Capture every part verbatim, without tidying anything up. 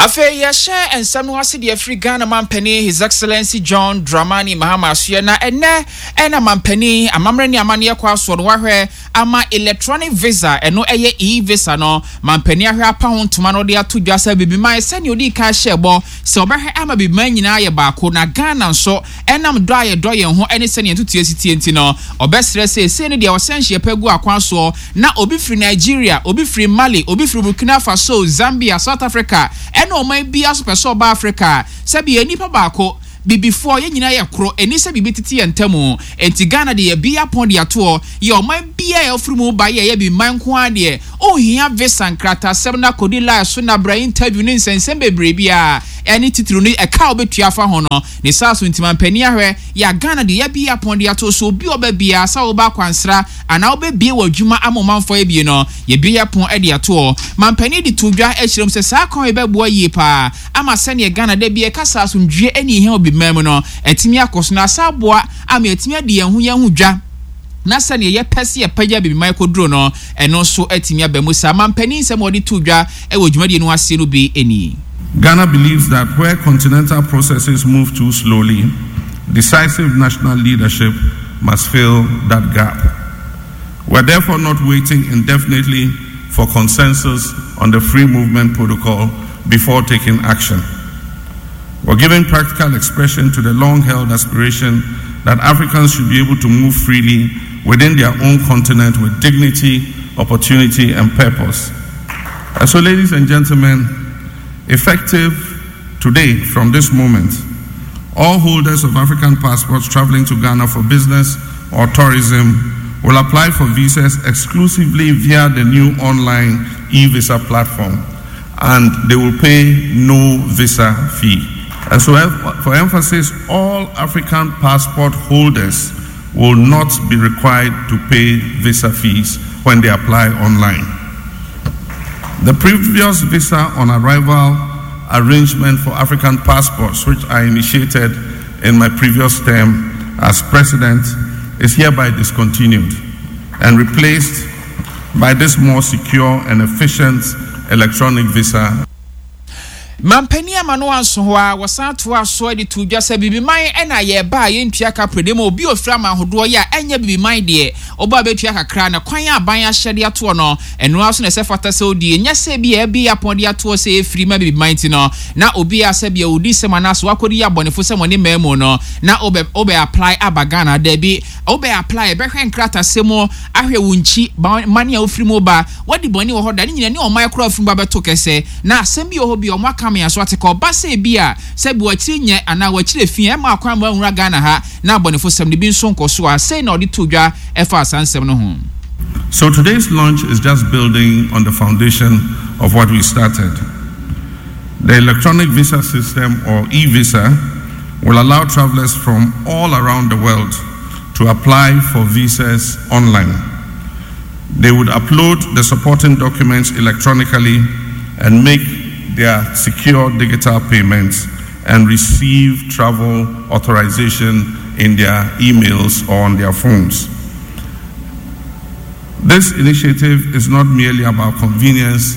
Afei yɛhyɛ nsɛm no ase deɛ afiri Ghana mampanin His Excellency John Dramani Mahama asoɛ. Na ɛnɛ ɛna mampanin amammerɛ ne amanneɛ kɔ asoɔ no wahwɛ ama electronic visa, ɛno ɛyɛ e-visa no, mampanin ahwɛ apa ho ntoma no de ato dwa sɛ bibiman, sɛnea odi kan hyɛ bɔ sɛ ɔbɛhwɛ ama bibiman nyinaa yɛ baako, na Ghana nso ɛnam dɔ a yɛdɔ yɛn ho ɛne sɛnea ntutuo si tie nti no, ɔbɛsrɛ sɛ esei no deɛ ɔsɛn hyɛ pɛ gu akwan soɔ na obi firi Nigeria, obi firi Mali, obi firi Burkina Faso, Zambia, South Africa ɛne ɔman biara so pɛ sɛ ɔba Africa, sɛbi yɛ nipa baako, bibifoɔ yɛn nyinaa yɛ koro, ɛni sɛ biribi tete yɛn ntam. Nti Ghana de yɛ bi apɔn de atoɔ yɛ ɔman biara yɛ ɔfiri mu ba yɛ yɛ bi man nko ara deɛ ɔnhia visa nkratasɛm na kɔdi line so na bra interview ne nsɛnsɛm bebree biara ɛne titiri no ɛka a wobɛtua afa ho no ne saa so. Nti mampanin ahwɛ yɛ Ghana de yɛ bi apɔn de ato so, obi a ɔba biara sɛ woba akwansra anaa wobɛbie wɔ adwuma ama ɔmanfoɔ abie no, yɛbie apɔn de atoɔ. Mampanin de to dwa akyerɛ mu sɛ saa kwan yi bɛboa yie paa ama sɛneɛ Ghana da bi ɛkasa asomdwie ne ihia obi man mu no ɛtumi akɔ so na asa aboa ama yɛtumi adi yɛn ho yɛn ho dwa, na sɛneɛ yɛpɛ sɛ yɛpagya bibiman kɔduro no, ɛno nso atumi aba mu saa. Mampanin nsɛm a wɔde to dwa wɔ dwumadie no aseɛ no bi nie. Ghana believes that where continental processes move too slowly, decisive national leadership must fill that gap. We're therefore not waiting indefinitely for consensus on the free movement protocol before taking action. We're giving practical expression to the long held aspiration that Africans should be able to move freely within their own continent with dignity, opportunity, and purpose. And so, ladies and gentlemen, effective today, from this moment, all holders of African passports traveling to Ghana for business or tourism will apply for visas exclusively via the new online e visa platform, and they will pay no visa fee. And so, for emphasis, all African passport holders will not be required to pay visa fees when they apply online. The previous visa on arrival arrangement for African passports, which I initiated in my previous term as president, is hereby discontinued and replaced by this more secure and efficient electronic visa. Mampanin ama no anso hɔ a, wɔsan toa so de to dwa sɛ bibiman ɛna yɛba a yɛntua kapre de ma obi ofiri ama ahodoɔ yɛ a ɛnyɛ bibiman deɛ, ɔba bɛtua kakra, na kwan a aban ahyɛ de atoɔ no, ɛno ara so na ɛsɛ fata sɛ odie nyɛ sɛ bi a ɛbi apɔn de atoɔ sɛ ɛfiri ma bibiman ti no na obi a sɛ bia odi sɛm anaasɛ wakɔdi yɛ abɔnefo sɛ wɔne mmaa mu no na wobɛ wobɛ apply aba Ghana. Daabi, wobɛ apply, ɛbɛhwɛ nkratasɛm mu ahwɛ wo nkyi mane a wofiri mu ba, wadi bɔne wɔ hɔ da ne nyina ne ɔman koraa firi mu ba bɛto kɛsɛ na asɛm bi wɔ hɔ bi a ɔmo aka me aso ate ka ɔba sɛ bi a sɛ bi wakyiri nyɛ anaa wakyiri fi ɛma akwan ma nwura Ghana ha na abɔnefo sɛm no bi nso nkɔ so a, sei na ɔde to dwa ɛfa saa nsɛm no ho. So today's launch is just building on the foundation of what we started. The electronic visa system, or e-visa, will allow travelers from all around the world to apply for visas online. They would upload the supporting documents electronically and make their secure digital payments and receive travel authorization in their emails or on their phones. This initiative is not merely about convenience,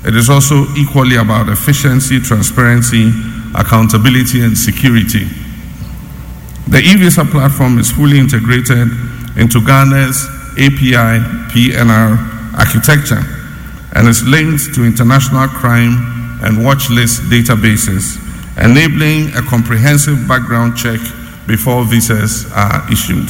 it is also equally about efficiency, transparency, accountability, and security. The e-visa platform is fully integrated into Ghana's A P I P N R architecture and is linked to international crime and watch list databases, enabling a comprehensive background check before visas are issued.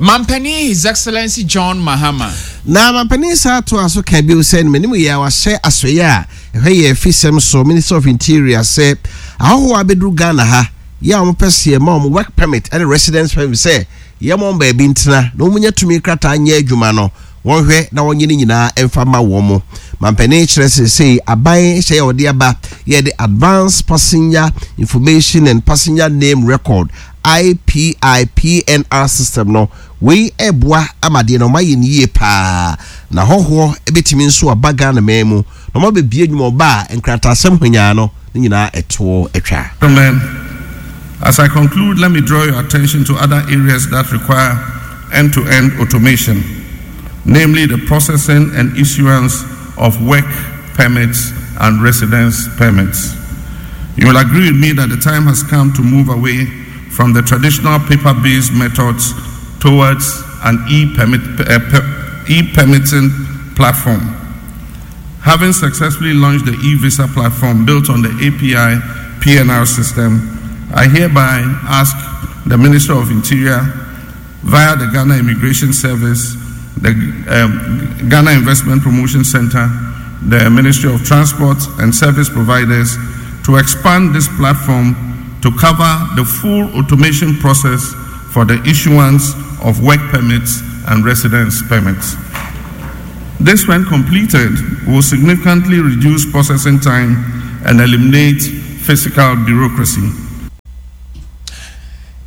Mampanin His Excellency John Mahama. Na mampanin saa to aso ka bio sɛ n'anim yɛ a wahyɛ asoeɛ a ɛhwɛ yɛ afisɛm so, Minister of Interior, sɛ ahɔhoɔ abɛduru Ghana ha yɛ a wɔpɛ sɛ yɛma wɔn work permit ɛne residence permit sɛ yɛma wɔn baabi ntena na wɔn nya tumi krataa nyɛ adwuma no, wɔnhwɛ na wɔnyɛ ne nyinaa mfa ma wɔn mo. Mampanin kyerɛ sɛ sei aban hyɛ yɛ ɔde aba yɛde Advance Passenger Information and Passenger Name Record, A P I P N R system no, wei ɛboa ama deɛ na ɔma yɛ no yie paa na hɔhoɔ bɛtumi nso aba Ghana man mu na ɔma bɛbie adwuma, ɔba a nkrataasɛm hwanyaa no ne nyinaa ɛtoɔ atwa. Gentlemen, as I conclude, let me draw your attention to other areas that require end to end automation, namely the processing and issuance of work permits and residence permits. You will agree with me that the time has come to move away from the traditional paper based methods towards an e-permit, uh, e-permitting platform. Having successfully launched the e-visa platform built on the A P I P N R system, I hereby ask the Minister of Interior, via the Ghana Immigration Service, the um, Ghana Investment Promotion Center, the Ministry of Transport and service providers to expand this platform to cover the full automation process for the issuance of work permits and residence permits. This, when completed, will significantly reduce processing time and eliminate physical bureaucracy.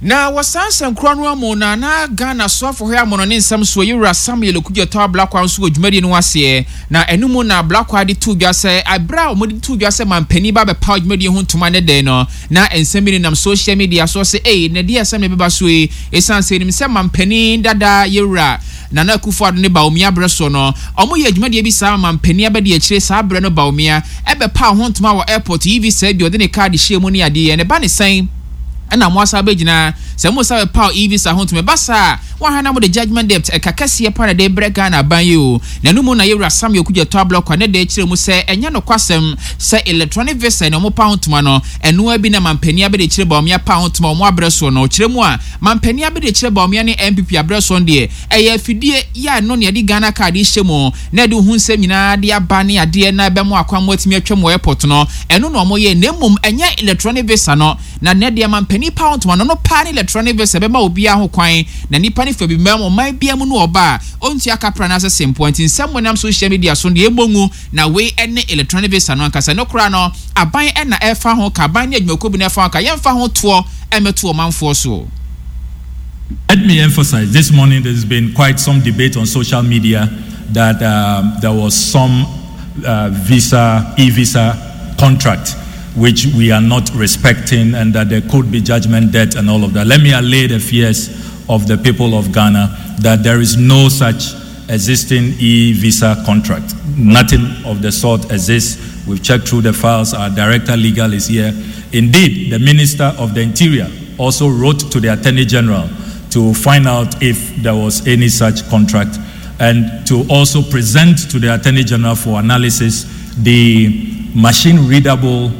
Na wɔsan nsɛnkura no amu na na Ghana soafo hɔ amono ne nsɛm so yɛwura Samuel Okudzeto Ablakwa nso wɔ dwumadie no aseɛ. Na ɛno mu na Ablakwa de to dwa sɛ abere a wɔde to dwa sɛ mampanin ba bɛpa dwumadie ho ntoma ne dɛn no, na nsɛm bi nenam social media so sɛ ei, na deɛ asɛm na ɛbɛba so yi, ɛsiane sɛ ɛnim sɛ mampanin dada yɛwura Nana Akufo Addo ne Bawumia berɛ so no, ɔmo yɛ dwumadie bi saa, mampanin abɛdi akyire saa berɛ no, Bawumia ɛbɛpa ho ntoma wɔ airport yi visa bi ɔde ne card hyɛ mu ne adeɛ ne ba ne sɛn, ɛna mo asa bɛgyina sɛ mo sa bɛpaw e-visa ho ntoma ɛba saa wɔn na mo de judgement debt ɛka kɛseɛ pa na de brɛ Ghana aban yi o. Na no mu na yɛwura Samuel Okudzeto Ablakwa ne de kyerɛ mu sɛ ɛnyɛ nokwasɛm sɛ electronic visa na ɔmo pa ho ntoma no, ɛnoa bi na mampanin abɛde kyerɛ Bawumia pa ho ntoma ɔmo abrɛ soɔ no. Ɔkyerɛ mu a, mampanin abɛde kyerɛ Bawumia ne N P P abrɛ soɔ no deɛ, ɛyɛ afidie yɛ a no ne yɛde Ghana Card hyɛ mu na ɛde ho nsɛm nyinaa de aba ne adeɛ na ɛbɛmo akwan mo atumi atwa mu airport no, ɛno na ɔmo yɛ, na mmom ɛnyɛ electronic visa no. Na ne deɛ mampanin pa ho ntoma no no paa ne electronic visa bɛma obiara ho kwan na nipa ne fa bi mɛm ɔman bia mu no ɔba a ɔntua kapra anaasɛ sempoa. Nti nsɛm mo nam social media so deɛ ɛmmɔ ngu na wei ɛne electronic visa no ankasa no koraa no, aban ɛna ɛfa ho ka, aban ne adwumakuo bi na ɛfa ho ka, yɛmfa ho toɔ ɛmɛto ɔmanfoɔ so. Let me emphasize, this morning there's been quite some debate on social media that um, there was some uh, visa, e-visa contract which we are not respecting and that there could be judgment debt and all of that. Let me allay the fears of the people of Ghana that there is no such existing e-visa contract. Nothing of the sort exists. We've checked through the files. Our director legal is here. Indeed, the Minister of the Interior also wrote to the Attorney General to find out if there was any such contract and to also present to the Attorney General for analysis the machine readable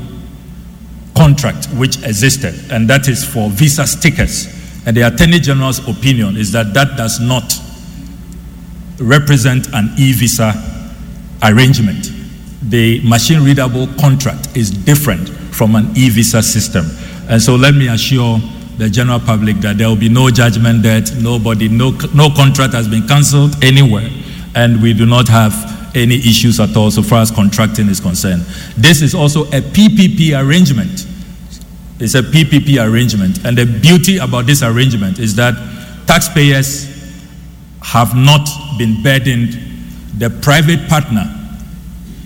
contract which existed, and that is for visa stickers. And the Attorney General's opinion is that that does not represent an e visa arrangement. The machine readable contract is different from an e visa system. And so let me assure the general public that there will be no judgment debt, nobody, no, no contract has been cancelled anywhere, and we do not have any issues at all so far as contracting is concerned. This is also a P P P arrangement. It's a P P P arrangement. And the beauty about this arrangement is that taxpayers have not been burdened. The private partner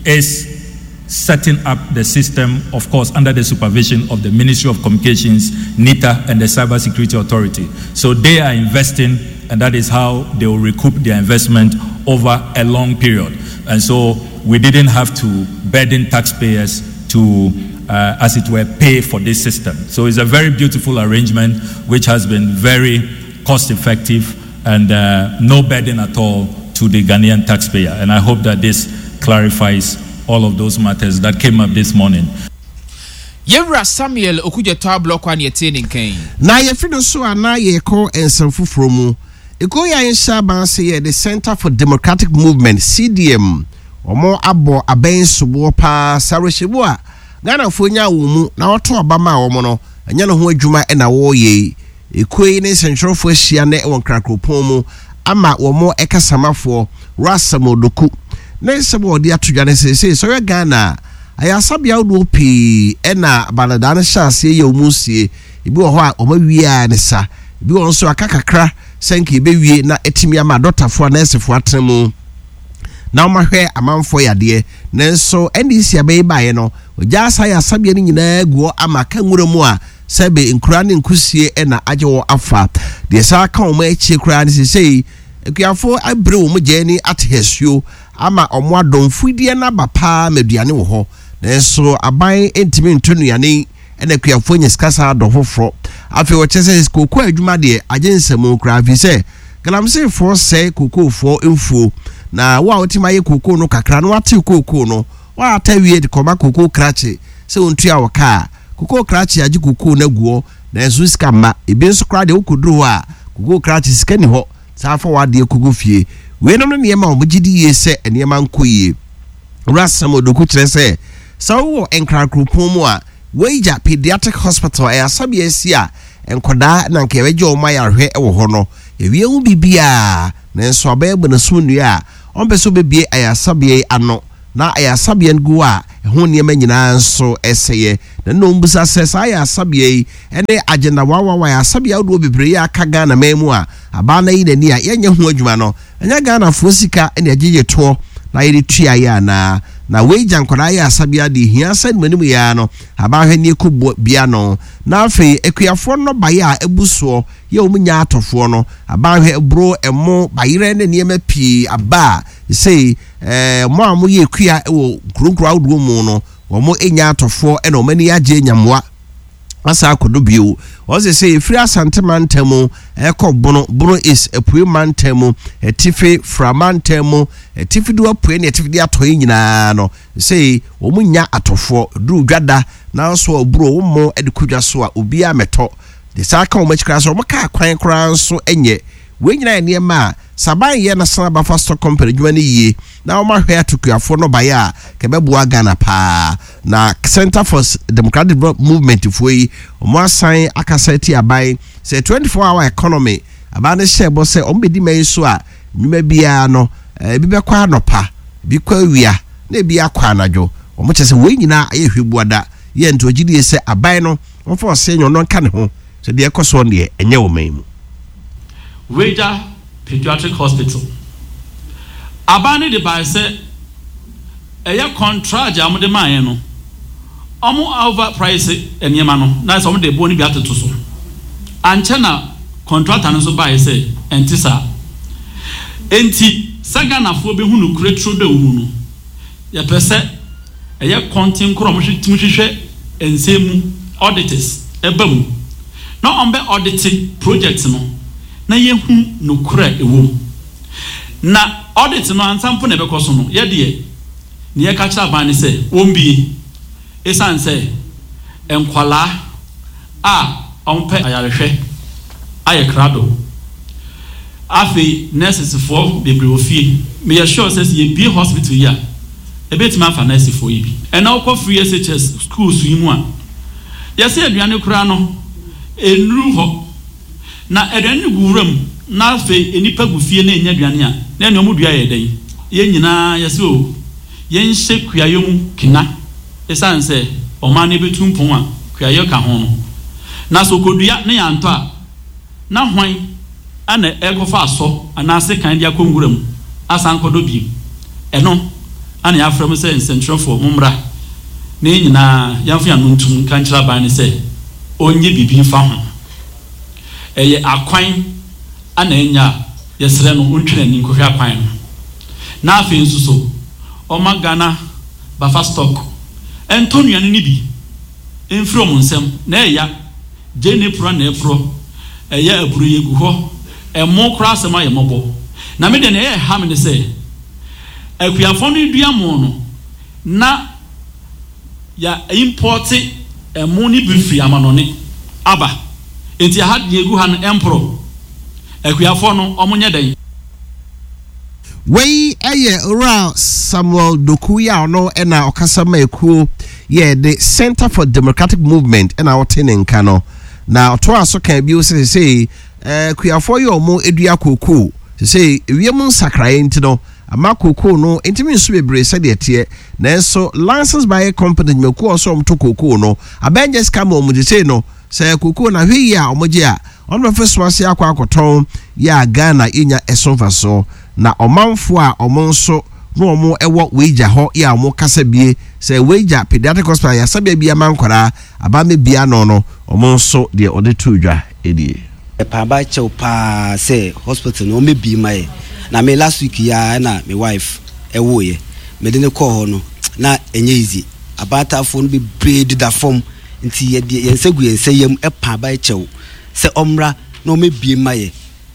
is setting up the system, of course, under the supervision of the Ministry of Communications, NITA, and the Cybersecurity Authority. So they are investing, and that is how they will recoup their investment over a long period. And so we didn't have to burden taxpayers to, uh, as it were, pay for this system. So it's a very beautiful arrangement which has been very cost effective and uh, no burden at all to the Ghanaian taxpayer. And I hope that this clarifies all of those matters that came up this morning. Yɛwura Samuel Okudzeto Ablakwa ne yɛtie ne nkan. Na yɛfiri no so a, na yɛkɔ nsɛm foforɔ mu. Ekuo yi a yɛnhyɛ aban ase yɛ the Center for Democratic Movement, C D M, wɔn abɔ abɛn soboɔ paa saa awerɛhyɛmu a Ghanafoɔ nya wɔn mu na wɔto aba ma wɔn no, ɛnyɛ ne ho adwuma ɛna wɔreyɛ yi. Ekuo yi ne nsɛntwerɛfoɔ ahyia ne wɔ nkrakuropɔn mu ama wɔn ɛkasamafoɔ Russell Odoku ne nsɛm a wɔde ato dwa ne sɛ sɛ sɔrɔ Ghana a ayaresabea ahodoɔ pii ɛna baladaa no hyɛ aseɛ yɛ wɔn sie. Ebi wɔ hɔ a wɔn awie a ne sa, ebi wɔ nso aka kakra sɛ nka ebewie na etimi ama adɔtafoɔ a nɛɛsefoɔ atena mu na wɔn ahwɛ amanfoɔ yadeɛ. Nanso N D C abɛyi baeɛ no, ogya asa ayaresabea no nyinaa gu hɔ ama aka nwura mu a sɛbe nkura ne nkusie ɛna agye wɔ afa deɛ saa ka wɔn akyie koraa ne sesei akuafoɔ abere wɔn gya ani ate asuo. Ama ɔmo adɔ mfudeɛ no aba paa ma aduane wɔ hɔ, nanso aban ntumi nto nnuane, ɛna akuafoɔ nya sika saa adɔ foforɔ. Afei wɔkyerɛ sɛ kooko adwuma deɛ, agye nsɛm koraa, afei sɛ galamseyfoɔ sɛe kookoofoɔ mfuo, na wo a wotumi ayɛ kookoo no kakra na wate kookoo no, waata wie de kɔma kookoo krakye sɛ wɔntua wɔ kaa. Kookoo krakye agye kookoo no aguɔ, nanso sika mma. Ebi nso koraa deɛ, wokɔduru hɔ a, kookoo krakye sika ni hɔ saa fa wadeɛ kogu fie. Weinom no nneɛma a wɔgye di yie sɛ nneɛma nkɔ yie. Owura Samuel Doku kyerɛ sɛ sɛ wowɔ Nkrakuropɔn mu a, Weija Pediatric Hospital ɛyɛ asabea asi a nkɔdaa na nka yɛbɛgye wɔn ayarehwɛ wɔ hɔ no, yɛwie ho biribiaa, nanso abɛyɛ bɔ n'asom nnua a ɔmpɛ sɛ wobɛbie ayasabea yi ano na ayasabea no gu a ɛho nneɛma nyinaa nso ɛsɛeɛ. Na nna ɔmbusa sɛ saa ayasabea yi ne Agenda one one one ayasabea ahodoɔ bebree yi a aka Ghana man mu a abaa no ayi n'ani a yɛnyɛ ho adwuma no, ɛnyɛ Ghanafoɔ sika ne agyegye toɔ na yɛde tua yɛ anaa? Na wei gya nkwadaa yɛ asabea deɛ, hia sɛ nimanim yɛ no abahwɛ ne ɛkɔ bia no. Na afei akuafoɔ nnɔbaeɛ a ɛbu soɔ yɛ wɔn nya atɔfoɔ no, abahwɛ aburo, ɛmo, bayerɛ ne nneɛma pii aba a sei ɛɛ mo a moyɛ akua wɔ nkuro ahodoɔ mu no, wɔn nya atɔfoɔ, ɛna wɔn ani agye nyamoa asa akɔdo bio. Wɔn sɛ sɛ efiri Asante mantam mu ɛkɔ Bono, Bono East, Apue mantam mu, Atifi Fra mantam mu, Atifi do apue ne atifi de atɔ yi nyinaa no, sɛ wɔn nya atɔfoɔ duru dwada, nanso aburo wɔn mo de kɔ dwa so a, obiara mɛtɔ de saa ka wɔn akyi koraa sɛ wɔn kaa kwan koraa nso nyɛ. Wei nyinaa yɛ nneɛma a saban yɛ National Buffer Stock Company adwuma no yie na wɔn ahwɛ atokuafoɔ no baeɛ a kɛbɛboa Ghana paa. Na Center for Democratic Movement foɔ yi, wɔn asan akasa ti aban sɛ twenty-four hour economy aban no hyɛ bɔ sɛ wɔn bɛdi mɛn so a, nnwuma biara no, ebi bɛkɔ anɔpa, ebi kɔ awia, na ebi akɔ anadwo. Wɔn kyerɛ sɛ wei nyinaa ayɛ hwɛbuada yɛ, nti ogye die sɛ aban no wɔmfa ɔsɛ nyɛ ɔno nka ne ho sɛ deɛ ɛkɔ soɔ deɛ, ɛnyɛ wɔ man mu. Weija Pediatric Hospital, aban no de bae sɛ ɛyɛ contract a wɔde maa yɛn no, wɔn over price nneɛma no na sɛ wɔn de boɔ no bi atoto so. Ankyɛ na contractor no nso bae sɛ ɛnte saa. Enti sɛ Ghanafoɔ bɛhu no kure turo dɛ mu no, yɛpɛ sɛ ɛyɛ kɔnten korɔ a wɔtumi hwehwɛ nsɛm mu, auditors ɛba mu na wɔn bɛ audit project no na yɛhu nokorɛ ɛwɔ mu. Na audit no ansa mpo na ɛbɛkɔ so no, yɛdeɛ ne yɛka kyerɛ aban ne sɛ wɔmbie, ɛsiane sɛ nkwalaa a wɔmpɛ ayarehwɛ ayɛ krado. Afei nursesfoɔ bebree wɔ fie. Meyɛ sure sɛ sɛ yɛbie hospital yi a, ɛbɛtumi afa nursefoɔ yi bi. Ɛna wokɔ free S H S schools yi mu a, yɛsɛ aduane koraa no ɛnuru hɔ, na aduane no gu wura mu, na afei nnipa gu fie na ɛnya aduane a, na ɛne ɔmo dua yɛ dɛn? Yɛn nyinaa yɛsɛ o yɛnhyɛ kuayɔ mu kena, ɛsiane sɛ ɔman no bɛtu mpɔn a kuayɔ ka ho no. Na sɛ okodua ne yɛantɔ a, na hwan ana ɛkɔfa asɔ anaasɛ kan de akɔ nwura mu asan kɔdɔ biem? Ɛno ana yɛafrɛ mo sɛ nsɛntwerɛfoɔ, mommra na yɛn nyinaa yɛmfa yɛn ano ntum ka nkyerɛ aban no sɛ ɔnyɛ biribi mfa ho. Ɛyɛ akwan ana ɛnya a, yɛsrɛ no ɔntwe n'ani nkɔhwɛ akwan no. Na afei nso so ɔma Ghana Buffer Stock ɛntɔ nnuane no bi mfiri ɔmo nsɛm na ɛya gye ne porɔ na ɛporɔ ɛyɛ aburo yɛ gu hɔ, ɛmo koraa asɛm ayɛ mmɔbɔ. Na me deɛ, nea ɛyɛ ha me ne sɛ akuafoɔ no dua mo no na ya import ɛmo ne bi firi amanɔne aba, nti aha deɛ egu ha no ɛmporɔ. Akuafoɔ no, ɔmo nyɛ dɛn? Wei ɛyɛ Owura Samuel Doku yi a ɔno ɛna ɔkasa ma ekuo yɛ the Center for Democratic Movement, ɛna ɔte ne nka no. Na ɔtoa so kan bio sɛ sɛ ɛɛ kuafoɔ yi a ɔmo edua kookoo sɛ ewiem nsakraeɛ nti no ama kookoo no ntumi nso bebree sɛdeɛ teɛ, nanso license buyer company dwumakuo a ɔsɛ ɔmo to kookoo no, abɛnjɛ sika ma ɔmo sɛ no sɛ kookoo na ahwɛ yie a ɔmo gye a, ɔno bɛfɛ so ase akɔ akɔtɔn yɛ a Ghana yɛnya ɛso mfasoɔ. Na ɔmanfoɔ a ɔmo nso na ɔmo ɛwɔ Weija hɔ yɛ a ɔmo kasa bie sɛ Weija Pediatric Hospital yasabea bi ama nkwaraa abame bia no no ɔmo nso deɛ ɔde to dwa ɛnie. Paaba kyɛw paa sɛ hospital no ɔmɛbie ma yɛ. Na me last week yi ara na me wife ɛwoeɛ. Mede no kɔɔ hɔ no, na ɛnyɛ easy. Abaatafoɔ no bebree deda fam, nti yɛde yɛn nsa gu yɛn nsa yam pa aban kyɛw sɛ ɔmmra na ɔmmɛbue mma yɛ.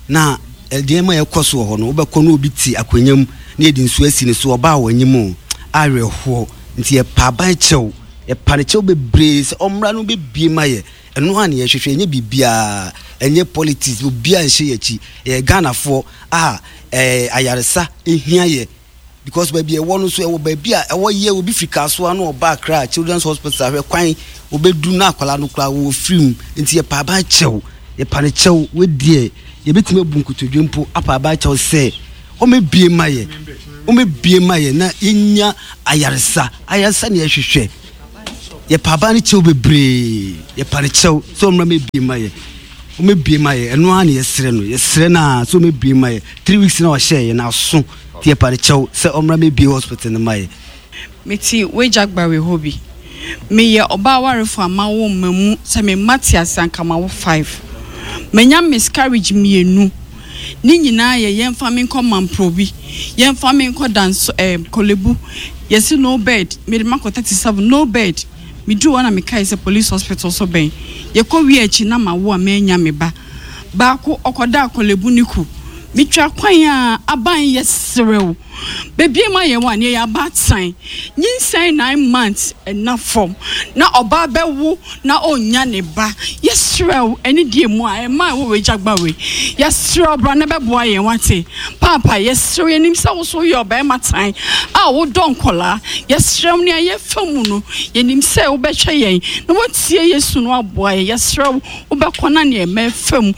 Na nneɛma a ɛkɔ so wɔ hɔ no, wobɛkɔ na obi te akonnwa mu na yɛde nsuo asi ne so, ɔbaa wɔ anim o, awerɛhoɔ. Nti yɛpa aban kyɛw, yɛpa no kyɛw bebree sɛ ɔmmra na ɔmmɛbue mma yɛ. Ɛno ara na yɛhwehwɛ, ɛnyɛ biribiara, ɛnyɛ politics, obiara nhyɛ yɛn akyi. Yɛyɛ Ghanafoɔ a ɛɛ ayaresa hia yɛ because baabi a ɛwɔ no nso ɛwɔ baabi a ɛwɔ yɛ obi firi Kasoa na ɔba Accra Children's Hospital hwɛ kwan ɔbɛdu na akwadaa no koraa wɔ firi mu nti yɛpa aban kyɛw yɛpa no kyɛw wedeɛ yɛbɛtumi abu nkotodwe mpo apa aban kyɛw sɛ ɔmɛbie ma yɛ ɔmɛbie ma yɛ na yɛnya ayaresa ayaresa na yɛhwehwɛ Yɛpa aban no kyɛw bebree. Yɛpa no kyɛw sɛ ɔmmra mmɛbie mma yɛ. Ɔmmɛbie mma yɛ. Ɛno ara na yɛsrɛ no. Yɛsrɛ no ara sɛ ɔmmɛbie mma yɛ. Three weeks na ɔhyɛɛ yɛn aso. Nti yɛpa no kyɛw sɛ ɔmmra mmɛbie hospital no mma yɛ. Mete w'agya-gbawe hɔ bi. Meyɛ ɔbaa warefo a mawo mma mu sɛ me mma te ase anka mawo five. Manya miscarriage mmienu. Ne nyinaa yɛ yɛmfa me nkɔ Mamprobi, yɛmfa me nkɔ Danso ɛɛ Korlebu, yɛse no bed, mede makɔ thirty seven, no bed. Meduru hɔ na mekae sɛ police hospital so bɛn. Yɛkɔ wie akyi na mawo a mannya me ba. Baako ɔkɔdaa Korlebu ne ku. Metwa kwan a aban yɛ serew. Bebiem ayɛ wo a neɛ yɛ abaatan. Nyinsɛn nine months ɛna fam na ɔbaa bɛwo na ɔnnya ne ba. Yɛsrɛ wo anidie mu a ɛma ɛwɔ w'agya gba wei. Yɛsrɛ wo bra na bɛboa yɛn wate. Paapa yɛsrɛ wo yɛnim sɛ wo so woyɛ ɔbarima tan a wodɔ nkɔlaa. Yɛsrɛ wo nea yɛfa mu no yɛnim sɛ wobɛhwɛ yɛn na woatie yɛn su no aboa yɛn. Yɛsrɛ wo wobɛkɔ na nea ɛma ɛfa mu.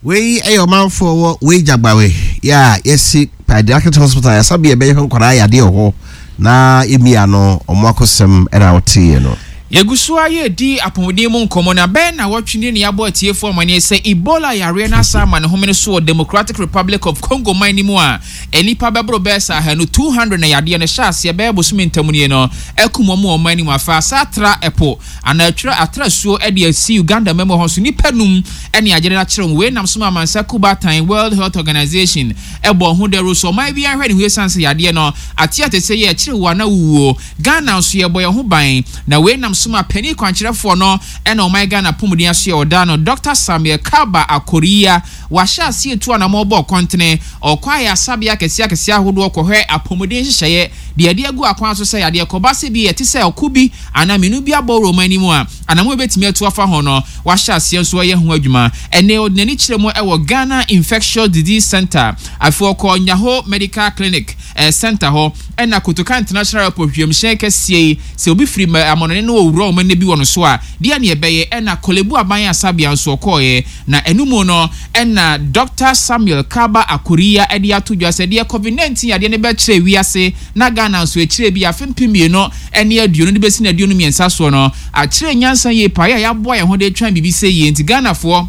Wei yɛ ɔmanfoɔ wɔ wei Gyagbawe yɛ a yɛsi Pediatric Hospital yasabea ɛbɛyɛ hwɛ nkwadaa yadeɛ wɔ hɔ na yɛmia no ɔmo akosɛm ɛna woteeɛ no. Yɛgu so ara redi apɔmuden mu nkɔmmɔ, na bɛyɛ nnawɔtwe nie na yɛabɔ atiefoɔ amanneɛ sɛ Ebola yareɛ no asan ama ne homene so wɔ Democratic Republic of Congo man no mu a nnipa bɛboro bɛyɛ sɛ ahanu, two hundred, na yadeɛ no hyɛɛ aseɛ bɛyɛ bosome ntam nie no akum wɔn wɔ ɔman no mu. Afei asan atra ɛpo anaa atwira atra asuo de asi Uganda man mu hɔ nso nnipa num ne agyede no akyere wɔn. Wei nam so ma amansa kuo baatan World Health Organization bɔɔ ho dawuro sɛ ɔman biara nhwɛ ne ho esiane sɛ yadeɛ no ate atese yɛ ɛkyere wo anaa wowuo. Ghana nso yɛbɔ yɛn ho ban na wei nam so ma panin kwankyerɛfoɔ no na ɔman Ghana apɔmuden asoɛ ɔda no Dɔkta Samuel Kalba Akoria wahyɛ aseɛ retu anamɔn bɔ kɔntene ɔkɔ ayaresabea akɛseɛ akɛseɛ ahodoɔ kɔhwɛ apɔmuden nhyehyɛeɛ deɛ yɛde agu akwan so sɛ yadeɛ kɔba sɛ bi ɛte sɛ ɔko bi anaa mmienu bi abɔ wɔ ɔman no mu a anamɔn a yɛbɛtumi atu afa ho no wahyɛ aseɛ nso ɛyɛ ho adwuma ɛnɛ ɔde n'ani kyerɛ mu ɛwɔ Ghana Infectious Disease Centre afei ɔkɔɔ Nyaho Medical Clinic Centre hɔ ɛna Kotoka International Airport wiemhyɛn kɛseɛ yi sɛ obi firi amɔnɔne no ɔwura wɔn ɛnɛ bi wɔ no so a deɛ ne ɛbɛyɛ ɛna Korle-Bu Aban Asabea nso ɔkɔɔɛ na ɛno mu no ɛna Doctor Samuel Kaba Akoriya ɛde ato dwa sɛ deɛ Covid nineteen yadeɛ no bɛkyerɛ wiase na Ghana nso akyire bi afe mpem mmienu ne aduonu de bɛsi no aduonu mmiɛnsa soɔ no akyerɛ nyansa yie paa yɛ a yɛaboa yɛn ho de retwɛn biribi sɛ yie nti Ghanafoɔ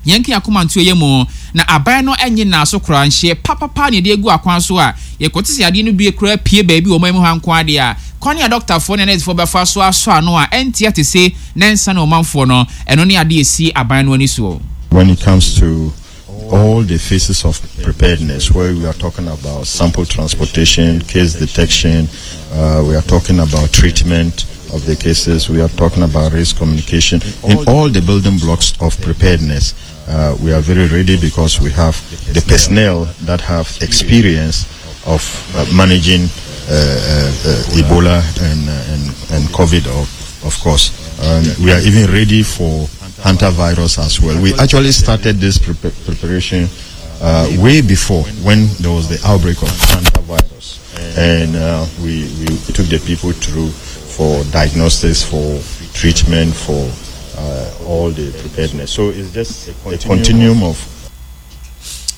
yɛnka yɛn akoma nto yɛn mu na aban no nnye nnaaso koraa nhyeɛ papapa na yɛde agu akwan so a yɛkɔte sɛ yadeɛ no bi koraa pue baabi wɔ ɔman mu ha nko ara deɛ a kwan a dɔktafoɔ ne anɛɛsefoɔ bɛfa so asɔ ano a ɛnte atese na ɛnsane ɔmanfoɔ no ɛno ne adeɛ a ɛsi aban no ani soɔ. When it comes to all the phases of preparedness, where we are talking about sample transportation, case detection, uh, we are talking about treatment of the cases, we are talking about risk communication. In all the building blocks of preparedness, uh, we are very ready because we have the personnel that have experience of uh, managing uh, uh, uh, Ebola and, and, and COVID, of, of course. Um, we are even ready for hantavirus as well. We actually started this pre- preparation uh, way before when there was the outbreak of hantavirus. And uh, we, we took the people through for diagnosis, for treatment, for uh, all the preparedness. So it's just a continuum of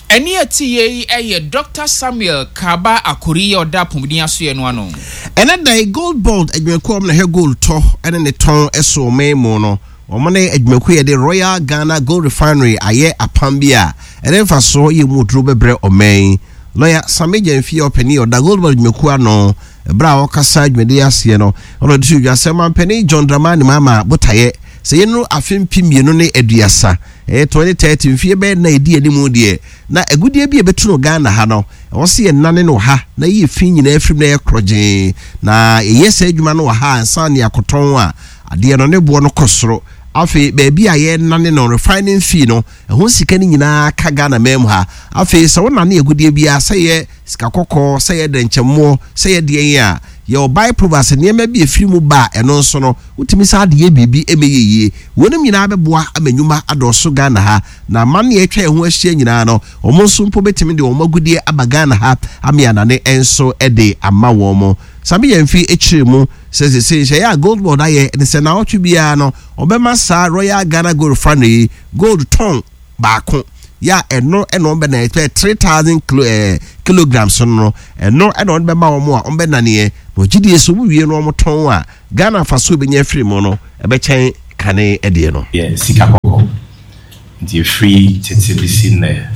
Ɛnne a ɛte yei yɛ Dɔkta Samuel Kaba Akori a ɔda apɔmuden asoɛeɛ no ano. Ɛnnɛ da yi, Gold Board adwumakuo a wɔn na ɛhwɛ gold tɔ ne ne tɔn so wɔ ɔman mu no, wɔn ne adwumakuo a yɛde Royal Ghana Gold Refinery ayɛ apam bi a ɛde mfasoɔ yɛ mu duro bɛbrɛ ɔman yi. Lɔya Sammy Gyamfi a ɔpanin a ɔda Gold Board adwumakuo ano berɛ a ɔrekasa dwumadie yi aseɛ no, ɔna ɔde too dwa sɛ Ɔmanpanin John Dramani Mahama botaeɛ Sɛ yɛnuru afe mpem mmienu ne aduasa, ɛyɛ twenty thirty, mfeɛ bɛyɛ nnan a ɛdi anim deɛ, na agudeɛ bi a ɛbɛtu no Ghana ha no, ɛwɔ sɛ yɛnane no wɔ ha na yɛyi fi nyinaa firi mu na ɛyɛ korɔgyee. Na yɛyɛ saa adwuma no wɔ ha ansa na yɛakɔtɔn a, adeɛ no ne boɔ no kɔ soro. Afei baabi a yɛnane no, refining fee no, ɛho sika no nyinaa ka Ghana man mu ha. Afei sɛ wonane agudeɛ biara, sɛ ɛyɛ sika kɔkɔɔ, sɛ ɛyɛ dɛnkyɛmmoɔ, sɛ ɛyɛ deɛn a, yɛwɔ by-products, nneɛma bi a ɛfiri mu ba a, ɛno nso no, wotumi san de yɛ biribi ma ɛyɛ yie. Weinom nyinaa bɛboa ama nnwuma adɔɔso Ghana ha, na aman a atwa yɛn ho ahyia nyinaa no, wɔn nso mpo bɛtumi de wɔn agudeɛ aba Ghana ha ama yɛanane nso de ama wɔn. Sami Gyamfi kyerɛɛ mu sɛ seesei nhyehyɛeɛ a Gold Board ayɛ ne sɛ nnawɔtwe biara no, wɔbɛma saa Royal Ghana Gold Refinery yi gold tɔn baako yɛ a ɛno na wɔn bɛna ɛpɛ three thousand kilo ɛɛ eh, kilograms no no ɛno na wɔn bɛma wɔn a wɔn bɛnaneɛ na wɔgye die so wɔn wie no wɔn tɔn a Ghana afaso ebɛnya afiri mu no ɛbɛkyɛn kane ɛdeɛ no. Yɛ sika kɔkɔɔ. Nti ɛfiri tete bɛsi nnɛ,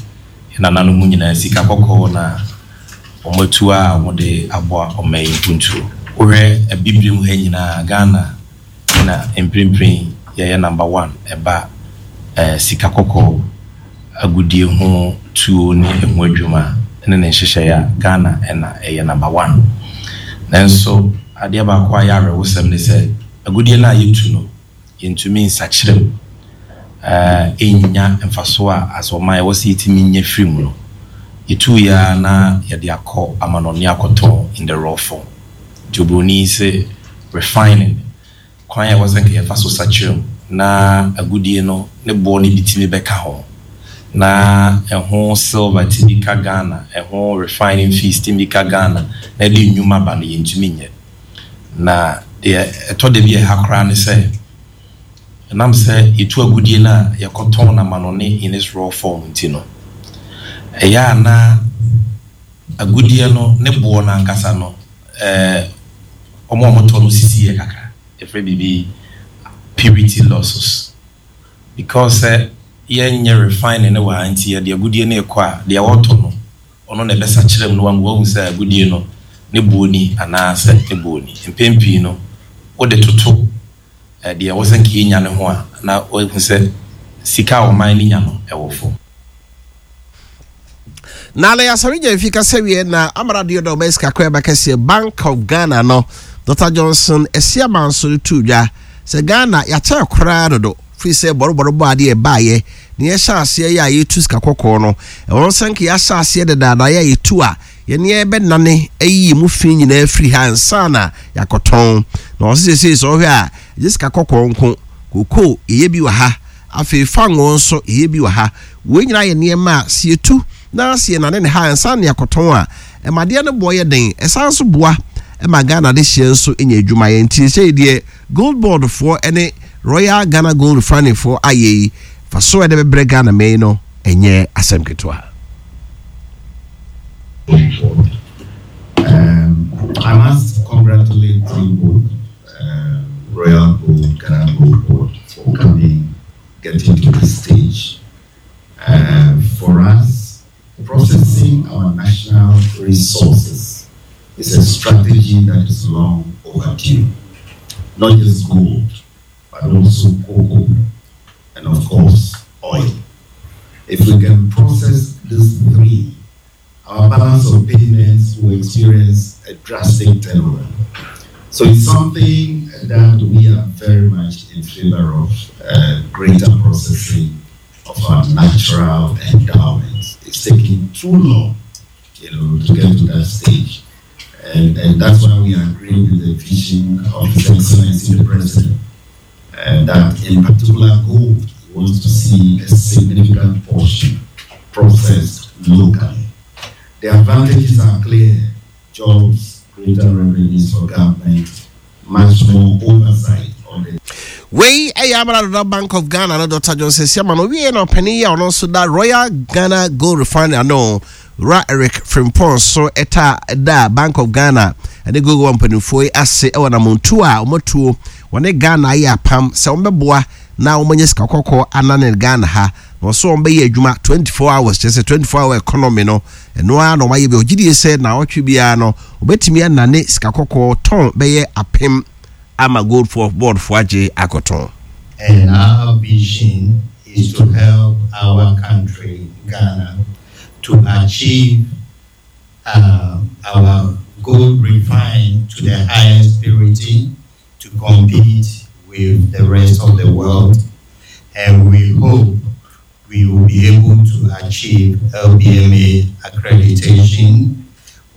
yɛn nananom nyinaa sika kɔkɔɔ na wɔatu a wɔde aboa ɔman yi mpuntuo. Wohwɛ Abibirem ha nyinaa, Ghana na mprempren yɛyɛ number one ɛba sika kɔkɔɔ agudie ho tuo ne ɛho adwuma ne ne nhyehyɛeɛ a, Ghana na ɛyɛ number one. Nanso adeɛ baako a ɛyɛ awerɛhosɛm ne sɛ, agudie no a yɛtu no, yɛntumi nsakyera mu nnya mfasoɔ a as ɔman ɛwɔ sɛ yɛtumi nya firi mu no. Yɛtuiɛ ara na yɛde akɔ amanɔne akɔtɔn in the raw form. Nti oburoni se refining, kwan a ɛwɔ sɛ nka yɛfa so sakyera mu na agudie no ne boɔ no bi tumi bɛka ho, na ɛho silver tumi ka Ghana, ɛho refining fees tumi ka Ghana na ɛde nnwuma ba no, yɛntumi nyɛ. Na deɛ ɛtɔ da bi a ɛha koraa ne sɛ, ɛnam sɛ yɛtu agudie no a yɛkɔtɔn no amanɔne in its raw form nti no, ɛyɛ a na agudie no ne boɔ no ankasa no, ɛɛ, wɔn a wɔtɔ no sisi yɛ kakra. Yɛfrɛ biribi purity losses. Because sɛ yɛnyɛ refining no wɔ ha nti, yɛde agudie no rekɔ a, deɛ ɔretɔ no, ɔno na ɛbɛsakyera mu na wama wahu sɛ agudie no ne boɔ ni anaasɛ ne boɔ ni. Mpɛn pii no, wode toto deɛ ɛwɔ sɛ nka yɛnya no ho a, na wahu sɛ sika a ɔman no nya no, ɛwɔ fam. Na Alɛ Asare Gyamfi kasa wie na Amara Adeoda ɔbɛyɛ sika kɔ ɛba kɛseɛ Bank of Ghana no Doctor Johnson Asiama nso de too dwa sɛ Ghana yɛakyɛre koraa dodo firi sɛ bɔrebɔre bɔ adeɛ ɛbaeɛ na yɛhyɛ aseɛ yɛ a yɛtu sika kɔkɔɔ no ɛwɔ sɛ nka yɛahyɛ aseɛ dedaada yɛ a yɛtu a yɛne yɛbɛnane ayi yɛn mu fi nyinaa firi ha ansa na yɛakɔtɔn na ɔse seesei sɛ ɔhwɛ a ɛgye sika kɔkɔɔ nko kokoo yɛyɛ bi wɔ ha Afei fangoo nso, yɛyɛ bi wɔ ha. Wei nyinaa yɛ nneɛma a sɛ yɛtu na sɛ yɛnane ne ha ansa na yɛakɔtɔn a, ɛma adeɛ no boɔ yɛ den. Ɛsan nso boa ma Ghana adehyeɛ nso nya adwuma yɛ. Nti seesei deɛ Gold Board foɔ ne Royal Ghana Gold Refinery foɔ ayɛ yi, mfasoɔ a ɛde bɛbrɛ Ghana man yi no, ɛnyɛ asɛm ketewa. Gold Board. Um, I must congratulate you both, um, Royal Gold, Ghana Gold Board, for coming, getting to this stage. Uh, for us, processing our national resources is a strategy that is long overdue. Not just gold, but also cocoa and, of course, oil. If we can process these three, our balance of payments will experience a drastic turnaround. So it's something that we are very much in favor of, uh, greater processing of our natural endowments. It's taking too long, you know, to get to that stage. And, and that's why we agree with the vision of His Excellency the President, and that in particular gold, he wants to see a significant portion processed locally. The advantages are clear: jobs, greater revenues for government, much more oversight on the Wei yɛ Amara Dada Bank of Ghana no Doctor Johnson Asiamah no ɔwieɛ na ɔpanin yi a ɔno nso da Royal Ghana Gold Refinery ano Wura Eric Frimpong nso taa da Bank of Ghana ne Gold Board mpanimfoɔ yi ase wɔ anamontuo a wɔatuo wɔne Ghana ayɛ apam sɛ wɔbɛboa na wɔanya sika kɔkɔɔ anane Ghana ha na ɔsɛ wɔn bɛyɛ adwuma twenty four hours kyerɛ sɛ twenty four hour economy no ɛno ara na wɔayɛ bi ɔgye die sɛ naawɔtwe biara no wɔbɛtumi anane sika kɔkɔɔ tɔn bɛyɛ apem ama gold board foɔ agye akɔtɔn. And our vision is to help our country, Ghana, to achieve uh, our gold refined to the highest purity to compete with the rest of the world. And we hope we will be able to achieve L B M A accreditation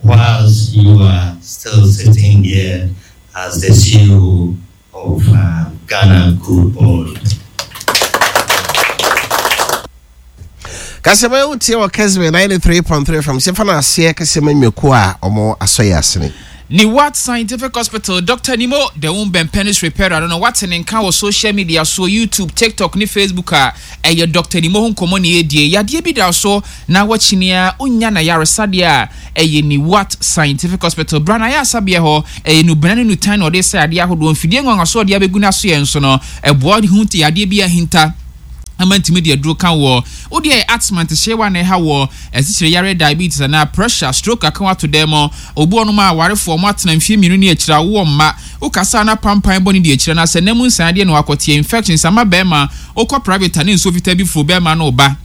whilst you are still sitting here as the C E O of uh, Ghana Gold Board. Kasɛma wotie wɔ Kesbe ninety-three point three F M sɛ fa no aseɛ kɛsɛma nnwakuo a ɔmo asɔ yɛ asene. Niwat Scientific Hospital, Doctor Nimo, the womb and penis repairer no, wate ne nka wɔ social media so, YouTube, TikTok ne Facebook a ɛyɛ Doctor Nimo ho nkɔmmɔ ne yɛdie. Yadeɛ bi da so na wakyini a wonya na yaresadeɛ a ɛyɛ Niwat Scientific Hospital. Bra na yɛ asabeɛ hɔ ɛyɛ nubena ne nutan na ɔde sɛ adeɛ ahodoɔ mfidie nwanwaso ɔde abɛgu no so yɛn so no ɛboa ho yadeɛ bi ahinta ama ntumi de aduro ka wɔ wodeɛ asthma ntehyewa na ɛha wɔ asikyire yare, diabetes anaa pressure, stroke aka wato dɛm mɔ obi wɔnom a awarefoɔ ɔmo atena mfie mmienu ne akyire awoɔ mma wokasa na pampan bɔ ne de akyire na sɛ nam nsan adeɛ na wakɔteɛ infections ama bɛrima wokɔ private a ne nsuo fitaa bi furo bɛrima no ba.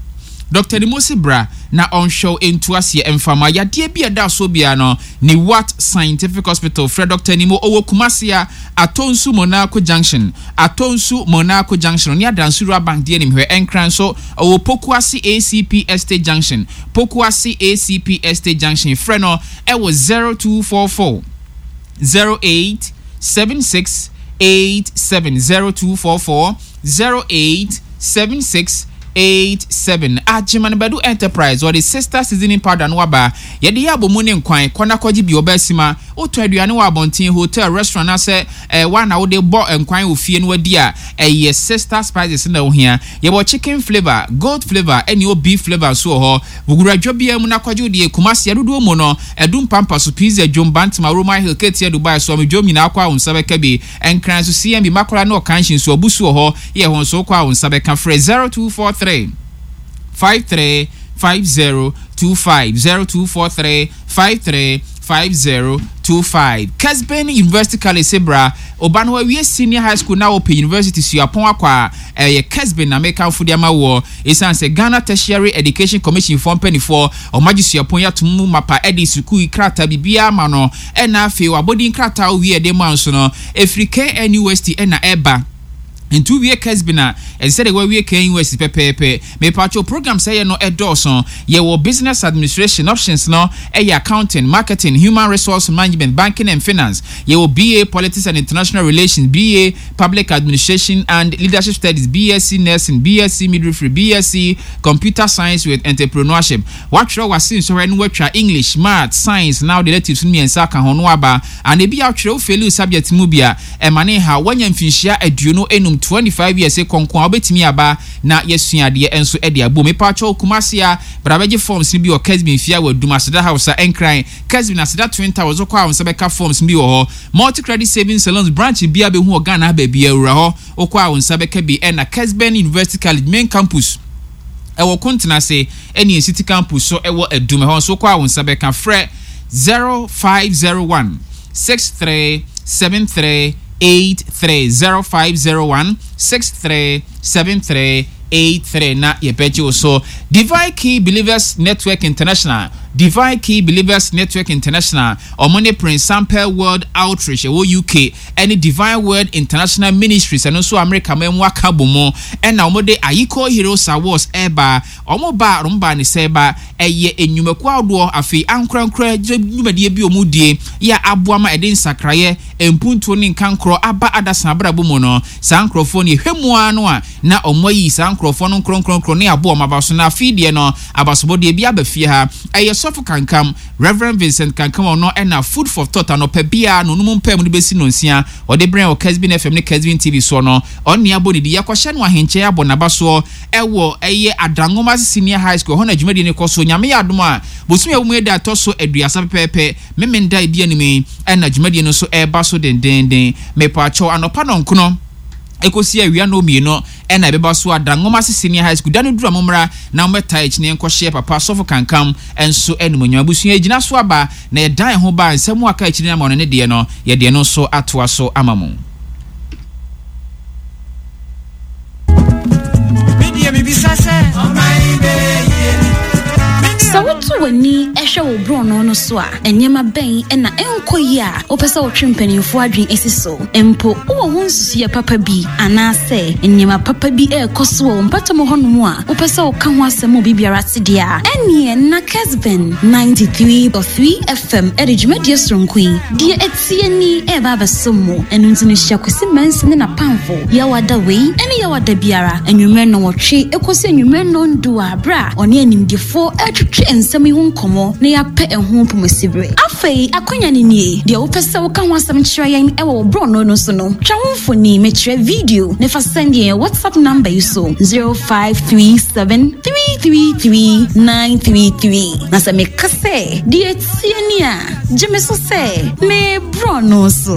Doctor Nimosi bra na ɔnhwɛw ntu aseɛ mfama yadeɛ bi a ɛda so biara no. Ne Wat Scientific Hospital, frɛ Doctor Nimo, ɔwɔ Kumasi a Atonsu Monaco Junction, Atonsu Monaco Junction ne Adansura Bank deɛ nim hwɛ. Ɛnkran so ɔwɔ Pokuase A C P Estate Junction, Pokuase A C P Estate Junction. Frɛ no ɛwɔ zero two four four zero eight seven six eight seven, zero two four four zero eight seven six eight seven. Agyeman Badu Enterprise wɔde Sister Seasoning Powder no aba. Yɛde yɛ abɔmu ne nkwan kɔna kɔgye bi ɔbɛ ma wotɔ aduane wɔ abɔnten, hotel, restaurant asɛ ɛɛ wa na wode bɔ nkwan wɔ fie no wadi a ɛyɛ Sister Spices na ohia. Yɛwɔ chicken flavour, goat flavour ɛne o beef flavour nso wɔ hɔ. Wugura biara mu na kɔgye deɛ. Kumasi adodoɔ mu no ɛdum Pampa so, Pizza Dwom, Bantama, Roman Hill, Ketia, Dubai so ɔmo nyinaa kɔ a wo nsa bɛka bi. Nkran so C M B Makola ne Ɔkanhyi nso ɔbu so wɔ hɔ yɛ hɔ nso kɔ a wo nsa bɛka. Frɛ zero two four three five three five zero two five, zero two four three five three five zero two five. Kesben University College sebra ɔba no awie senior high school na wɔpɛ university suapɔn akɔ a ɛyɛ Kesben na mekamfo de ama wɔ ɛsiane sɛ Ghana Tertiary Education Commission foɔ mpanimfoɔ ɔmagye suapɔn yi atom mu mapa ɛde sukuu krataa biribiara ma no ɛna afei wabɔdin krataa owie ɛde ma nso no ɛfiri K N U S T ɛna ɛba nti wowie Kesben a ɛsɛ sɛ wawie K N U S T pɛpɛɛpɛ. Mepatwo program sɛ yɛ no ɛdɔɔso. Yɛwɔ business administration options no ɛyɛ accounting, marketing, human resource management, banking and finance. Yɛwɔ B A Politics and International Relations, B A Public Administration and Leadership Studies, B S c Nursing, B S c Midwifery, B S c Computer Science with Entrepreneurship. Watwerɛ wase nsɔhwɛ no watwa English, Math, Science now electives no mmiɛnsa aka ho no aba ana ebi atwerɛ wo fail subject mu bi a ɛma ne ha wanya mfinhyia aduonu enum, twenty-five years kɔnkɔn a wobɛtumi aba na yɛsua adeɛ nso de abom. Mepatwɛ Kumase a bra bɛgye forms no bi wɔ Kesben fie a wɔ Adum Aseda House a Ɛnkran Kesben Aseda Twin Towers wokɔ a wo nsa bɛka forms bi wɔ hɔ. Multi Credit Savings Salons branch bi a bɛhu wɔ Ghana baabi awura hɔ wokɔ a wo nsa bɛka bi. Ɛna Kesben University College main campus ɛwɔ Kontena ɛne city campus so ɛwɔ Adum ɛhɔ nso wokɔ a wo nsa bɛka. Frɛ zero five zero one six three seven three eight three, zero five zero one six three seven three eight three na yɛbɛgye wo so. Divine Key Believers Network International, Divine Key Believers Network International ɔmo ne Prince Sample World Outreach ɛwɔ U K ɛne Divine Word International Ministries ɛno nso America ma mu aka bɔ mu ɛna ɔmo de Ayiko Heroes Awards ɛɛba. Ɔmo ba ɔmo ba ne sɛ ba ɛyɛ enyumakuo ahodoɔ afei ankorankora dwumadie bi ɔmo die yɛ aboa ma ɛde nsakraeɛ mpuntuo ne nkankorɔ aba adasa abrabɔ mu no. Saa nkurɔfoɔ no yɛhwɛ mu ara no a na ɔmo ayi saa nkurɔfoɔ no nkorɔnkorɔnkorɔ ne aboa ɔmo aba so na afei deɛ no abasobɔdeɛ bi aba fie ha. Ɛyɛ sɔfo Kankam, Reverend Vincent Kankam, ɔno ɛna Food for Thought anɔpɛ biara no onum mpɛ mu no bɛsi no nsia ɔde brɛn wɔ Kesbin F M ne Kesbin T V soɔ no. Ɔne abɔ ne di yɛkɔhyɛ no ahenkyɛn abɔ n'aba soɔ ɛwɔ ɛyɛ Adanwoma Senior High School hɔ na dwumadie no kɔ so. Nyame yɛ adom a bosom a ɛwɔ mu yɛ da ɛtɔ so aduasa pɛpɛɛpɛ memenda edi anim yi ɛna dwumadie no nso ɛreba so dendenden. Mepaakyɛw anɔpa nɔnkono ekosi awia no mmienu ɛna ɛbɛba so Adanwoma Senior High School. Da no duru a mommra na mommɛta akyi ne nkɔhyɛ papa sɔfo Kankam nso animonyam. Abusua gyina so aba na yɛdan ho ba nsɛm aka akyiri no ama ɔno ne deɛ no yɛdeɛ no nso atoa so ama mo. borɔno no so a, nneɛma bɛn na ɛnkɔ yie a wopɛ sɛ wotwe mpanimfoɔ adwene si so? Mpo wowɔ ho nsusuiɛ papa bi anaasɛ nneɛma papa bi ɛrekɔ so wɔ wo mpɔtam hɔnom a wopɛ sɛ woka ho asɛm ma obi biara te deɛ a, ɛnneɛ na Kesben ninety-three point three F M ɛde dwumadie soronko yi deɛ ɛtie ni ɛreba abɛsom mo. Ɛno nti no, hyia Kwasi Mɛnsa ne n'apamfo Yɛwada wei ɛne Yɛwada biara anwummerɛ nnɔnwɔtwe ɛkɔsi anwummerɛ nnɔndu a berɛ a ɔne animdefoɔ ɛretwetwe nsɛm yi ho nkɔmmɔ na yɛapɛ ɛho pomasiberɛ. Afei akwanya no nie, deɛ wopɛ sɛ woka ho asɛm kyerɛ yɛn ɛwɔ wo borɔno no so no, twa ho mfoni, mekyerɛ video, ne fa send yɛn WhatsApp number yi so, zero five three seven three three three nine three three. Na sɛ meka sɛ deɛ tie ni a, gye me so sɛ me borɔno so.